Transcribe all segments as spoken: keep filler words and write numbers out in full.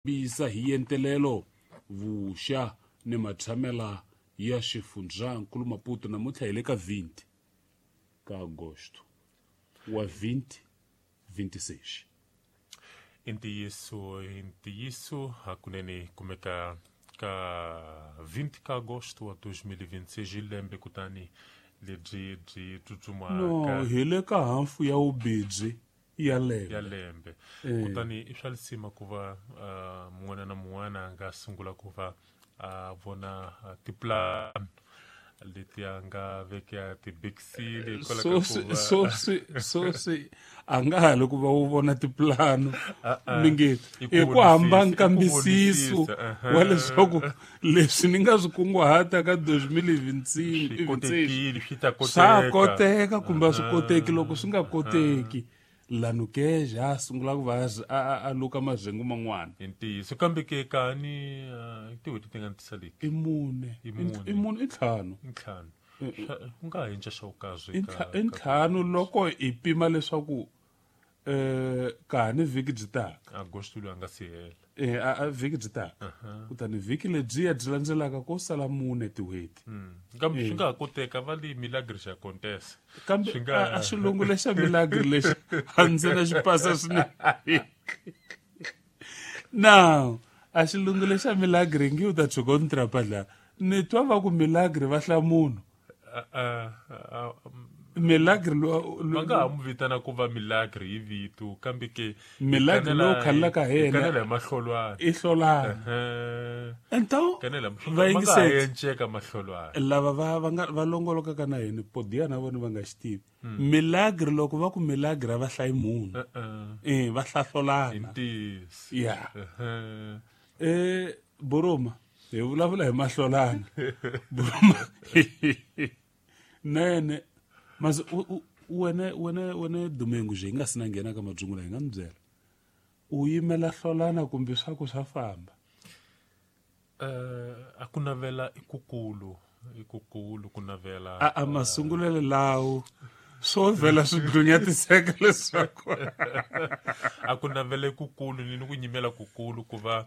Bisa hi yentelelo vuxa ni matshamela ya xifundzankulu Maputo namuntlha hi le ka vinte ka agosto wa vinte vinte e seis. I ntiyiso, i ntiyiso hakunene kumeka ka vinte ka agosto wa dois mil e vinte e seis lembe kutani lebyi byi tsutsumaka. No, hi le ka hafu ya vubedzi ya lembe. Ya lembe. Eh. Kutani i swa lisima ku va uh, mun'wana na mun'wana a nga sungula ku va a vona uh, tiplan leti a nga veka tibekisile hikwalaho so ka swi ku va so swi so swi a nga ha li ku va u vona tipulano Ah, mi nge I ku i ku hamba vonisisa, i ku nkambisiso vonisisa, aha. wa leswaku leswi ni nga swi kunguhata ka dos mil e vinte e cinco swi kotekile, swi ta swa koteka. Koteka kumbe a swi koteki. Loko swi nga koteki, lanukeja a sungula ku va a- a a luka mazengu man'wana. I ntiyiso, kambe ke kani uh, tin'hweti ti nga ni tisaleki. I mune. I mune. I mune, i ntlhanu. I ntlhanu. Swa- ku nga ha cinca xa vukazi. I ntlha- i ntlhanu loko hi pima leswaku eh ka ha ni vhiki byi taka. Agosto loyi a nga si hela. Eh a a vhiki byi taka, kutani vhiki lebyiya byi landzelaka ko sala mune tin'hweti. Mm. Kambe swi nga ha koteka, va li milagre xa contessa. Kambe Swi nga a a xilungu lexa milagre lexi a ndzi na xi pasa swinene. Now a xilungu lexa milagre ngi u ta tshuka u ni trapa la ni twa va ku milagre va hla munhu. Ah, ah, ah, Milagre lo va nga ha n'wi vitana ku va milagre hi vito, kambe ke Milagre lowu khalelaka hi yena. Kanela hi mahlolwana. I hlolana. Ehe. Então kanela va va nga ha yingiseti enceka mahlolwana. Lava va va nga va longolokaka na hina podiya na vona va nga xi tivi milagre. Loko va ku milagre, a va hlayi munhu. Eh, eh va i hlahlolana. Ntiyiso. Ya. Ehe. eh boroma hi vulavula hi mahlolana, boroma nene mase u- u- wene wene wene Domingo nje hi nga si na nghena ka madzungula, hi nga mi byela u yimela hlolana kumbe swa ku swa famba? Eh, a ku navela i kukulu, i kukulu ku navela. A a masungulelo lawo swo vhela swi dlunyatiseka leswaku A ku navela i kukulu ni ni ku nyimela kukulu ku va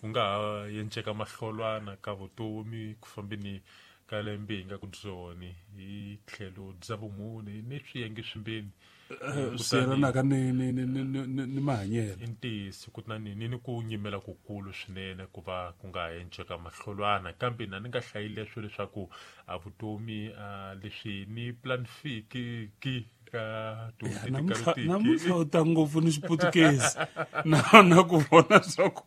ku nga ha yenceka mahlolwana ka vutomi ku fambeni ka lembe hi nga ku byoni hi tlhelo bya vumune ni swiyenge swimbeni. Eh, swi yelanaka ni ni ni ni ni ni mahanyelo. I ntiyiso, kutani ni ni ku nyimela kukulu swinene ku va ku nga ha enceka mahlolwana, kambe na ni nga hlayi leswo leswaku a vutomi a leswi ni planifiki ki ka Ya, tin'hweti namuntlha tikarotiki. Namuntlha u ta ngopfu ni xiputukezi na na ku vona swa ku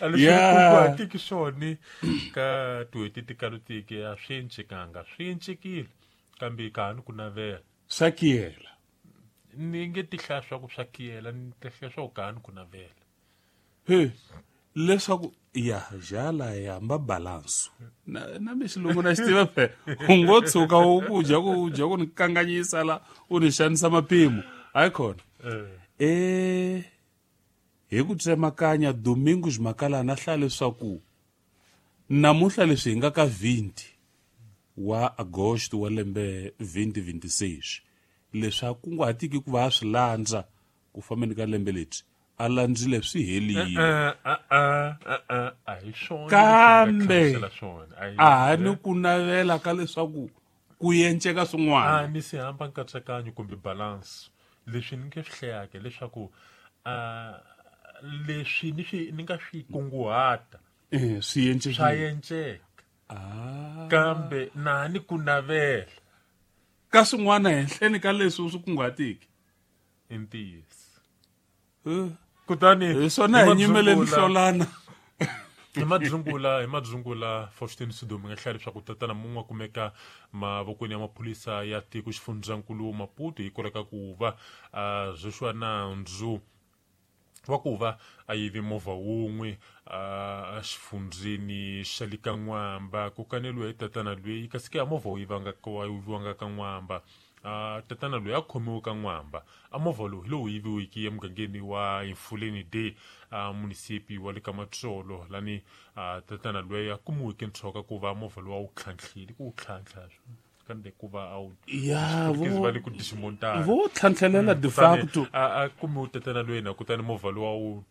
A leswi Ya. kunguhatiki swona ka tin'hweti tikarotiki a swi encekanga, swi encekile, kambe ka ha ni ku navela. Swa kiyela. Ni nge ti hlaya swa ku swa kiyela, ni ti hlaya swa ku ka ha ni ku navela. He leswaku ya jala ya hamba balanso na na mi xilungu na xi tiva phe u ngo tshuka u ku dya ku dya ku ni kanganyisa la u ni xanisa mapimo hayi khona. Eh. Eh hi ku tsemakanya Domingos Makalana hlaya leswaku namuntlha leswi hi nga ka vinte wa agosto wa lembe twenty twenty-six, leswi a kunguhatiki ku va a swi landza ku fambeni ka lembe lebyi a landzile swi helile. Eh, ah, ah, ah, ah, a hi swona Kambe leswi ni nga hlamusela swona. A hi- a ha ni ku navela ka leswaku ku yenceka a swin'wana. Ni si hamba nkatsakanyo kumbe balance leswi ni nge swi hlayaka leswaku a leswi ni swi ni nga swi kunguhata Eh swi swa yencekile. yenceka, Ah. kambe na ni ku navela ka swin'wana henhleni ka leswi u swi kunguhatiki. I ntiyiso. Eh, Kutani hi swona hi nyimeleni madzungula- hlolana. hi madzungula hi madzungula Faustin Sidomi nga hlaya leswaku tatana mun'we a kumeka mavokweni ya maphorisa ya tiko xifundzankulu Maputo hi koleka ku va a Joshua nandzu wa ku va a yive movha wun'we a xifundzeni xa le ka N'wamba. Ku kaneliwa hi tatana loyi, kasi ke a movha wu yivanga wa yiviwanga ka N'wamba. A tatana loyi a khomiwe ka N'wamba. A movha lowu hi lowu yiviweke emugangeni wa Infuleni Day, a munisipi wa le ka Matsolo lani. A tatana loyi a kumiweke ntshoka ku va movha lowu a wu tlhantlhile ku wu tlhantlha kambe ku va a wu Ya, Xiputukezi vo- va le ku disimontana. Vo tlhantlhelela de Kutani facto. a a kumiwe tatana loyi na kutani movha lowu a wu